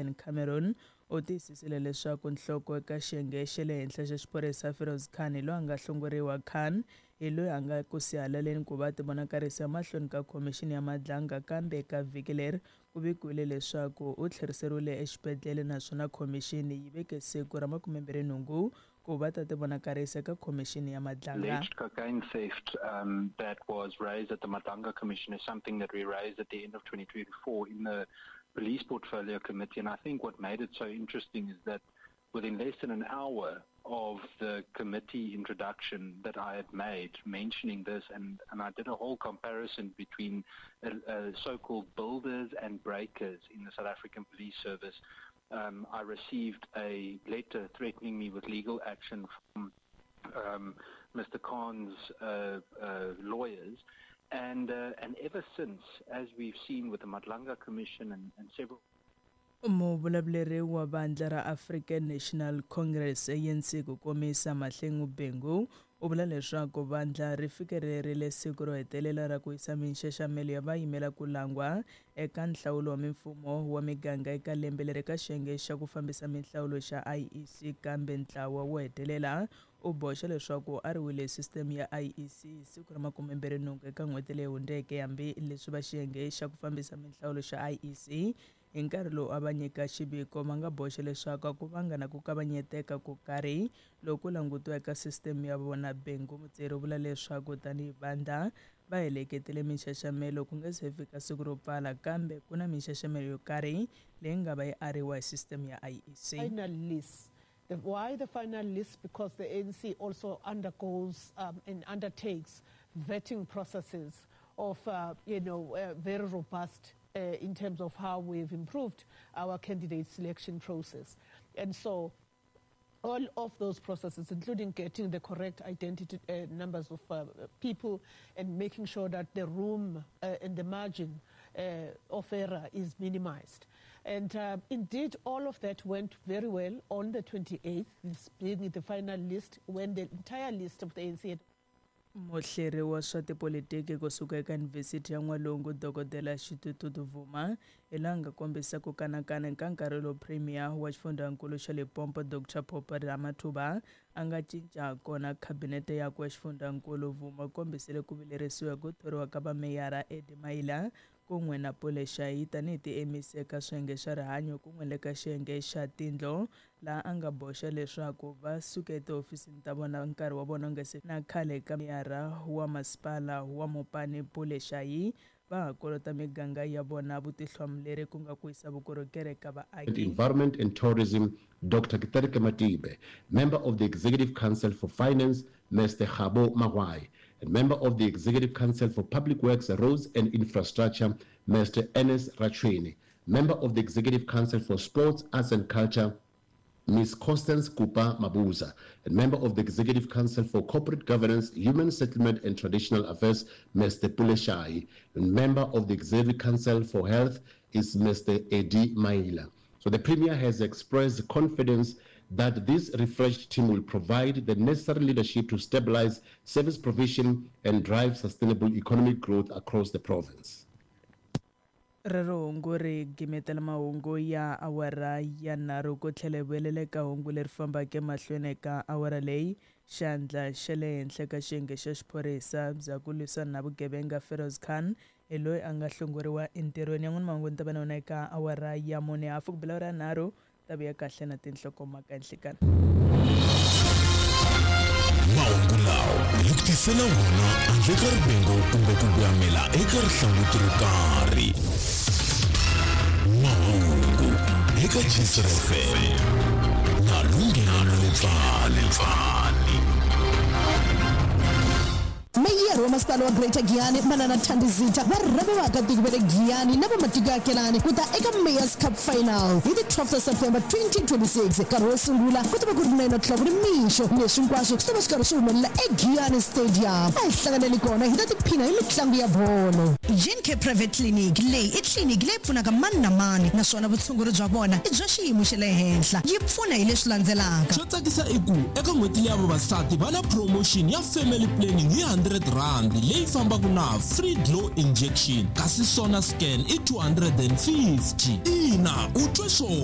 Ian Cameron u tiyisisile leswaku nhloko eka xiyenge xa le henhla xa xiphorisa Feroz Khan hi loyi a nga hlongoriwa. Khan hi loyi a nga ku sihalaleni ku va tivonakarisa emahlweni ka khomixini ya Madlanga, kambe eka vhiki leri ku vikiwile leswaku u tlheriseriwile exibedhlele naswona khomixini yi veke siku ra 28 ku va ta tivonakarisa eka khomixini ya Madlanga. Alleged cocaine theft that was raised at the Madlanga Commission is something that we raised at the end of 2024 in the Police Portfolio Committee. And I think what made it so interesting is that within less than an hour of the committee introduction that I had made mentioning this, and I did a whole comparison between so-called builders and breakers in the South African Police Service, I received a letter threatening me with legal action from Mr. Khan's lawyers. And ever since, as we've seen with the Madlanga Commission and several Muvulavuleri wa vandla ra African National Congress, ANC ku komisa, Mahlengi Bhengu, u vula leswaku vandla ri fikelerile siku ro hetelela ra ku yisa minxaxamelo ya vayimela ku langwa eka nhlawulo wa mimfumo wa miganga eka lembe leri ka xiyenge xa ku fambisa minhlawulo xa IEC, kambe ntlawa wo hetelela u boxa leswaku a ri wile sisiteme ya IEC hi siku ra 28 eka n'hweti leyi hundzeke, hambi leswi va xiyenge xa ku fambisa minhlawulo xa IEC hi nkarhi lowu a va nyika xiviko va nga boxa leswaku a ku vanga na ku kavanyeteka ko karhi loko ku langutiwa eka sisiteme ya vona. Bhengu Mutseri u vula leswaku tanihi vandla va heleketile minxaxamelo ku nga se fika siku ro pfala, kambe ku na minxaxamelo yo karhi leyi nga va yi ariwa hi sisiteme ya IEC. Final list. Why the final list? Because the ANC also undergoes and undertakes vetting processes of very robust in terms of how we've improved our candidate selection process. And so all of those processes, including getting the correct identity numbers of people and making sure that the room and the margin of error is minimized. And indeed, all of that went very well on the 28th, this being the final list, when the entire list of the ANC had Muhleri wa swa tipolitiki kusuka eka Yunivhesiti ya N'walungu, Dokodela Xitutu Vuma, hi laha nga kombisa ku kanakana eka nkarhi lowu Premier wa xifundzankulu xa Limpopo, Dr Phophi Ramathuba, a nga cinca kona khabinete yakwe ya xifundzankulu. Vuma kombisile ku vilerisiwa hi ku thoriwa ka vameyara Eddie Maila kun'we na Pule Shayi tanihi ti-MEC eka swiyenge swa rihanyo kun'we le ka xiyenge xa tindlo, laha a nga boxa leswaku va suke etihofisini ta vona nkarhi wa vona nga se na khale ka meyara wa masipala wa Mopani, Pule Shayi, va ha kolota miganga ya vona vutihlamuleri ku nga ku yisa vukorhokeri eka vaaki. Environment and Tourism, Dr. Kitereke Matibe, Member of the Executive Council for Finance, Mr. Kgabo Magoai, and Member of the Executive Council for Public Works, Roads and Infrastructure, Mr. Ernest Rachoene, Member of the Executive Council for Sports, Arts and Culture, Ms. Constance Kupa Mabuza, and Member of the Executive Council for Corporate Governance, Human Settlement and Traditional Affairs, Mr. Pule Shayi, and Member of the Executive Council for Health is Mr. Eddie Maila. So the Premier has expressed confidence that this refreshed team will provide the necessary leadership to stabilize service provision and drive sustainable economic growth across the province. Rero hungu ri gimetela mahungu ya awara ya 3. Ku tlhela hi vuyelela eka hungu leri fambaka emahlweni eka awara leyi, xandla xa le henhla ka xiyenge xa xiphorisa bya ku lwisana na vugevenga, Feroz Khan, hi loyi a nga hlongoriwa entirhweni. Yan'wana mahungu ni ta va na wona eka awara ya 4, hafu ku bela awara ya 3. Ta vuya kahle na tinhlokomhaka nhlikani. Mahungu lawa hi ku tisela wona handle ka rivengo kumbe ku voyamela eka rihlanguti ro karhi. Mahungu eka Gcr FM na Lunghelo Letswali. Meyara wa Masipala wa Greater Giyani, Manana Thandi Zitha, va rhambe vaakatiko va le Giyani na va matiko ya akelani ku ta eka Mayor's Cup Final hi ti 12 ta September 2026. Nkarhi wo sungula ku ta va ku ri 9 o'clock nimixo. Leswi hinkwaswo swi ta va swi karhi swi humelela eGiyani Stadium. A hi hlanganeni kona hi ta tiphina hi mitlangu ya bolo. Gencare Private Clinic, Leyi i tliliniki leyi pfunaka mani na mani naswona vutshunguri bya vona i bya xiyimo xa le henhla. Yi pfuna hi leswi landzelaka. Xo tsakisa i ku eka n'hweti leya vavasati va na promotion ya family planning hi R100 leyi fambaka na free glow injection, kasi sona scan i 250. Ina, u twe swona.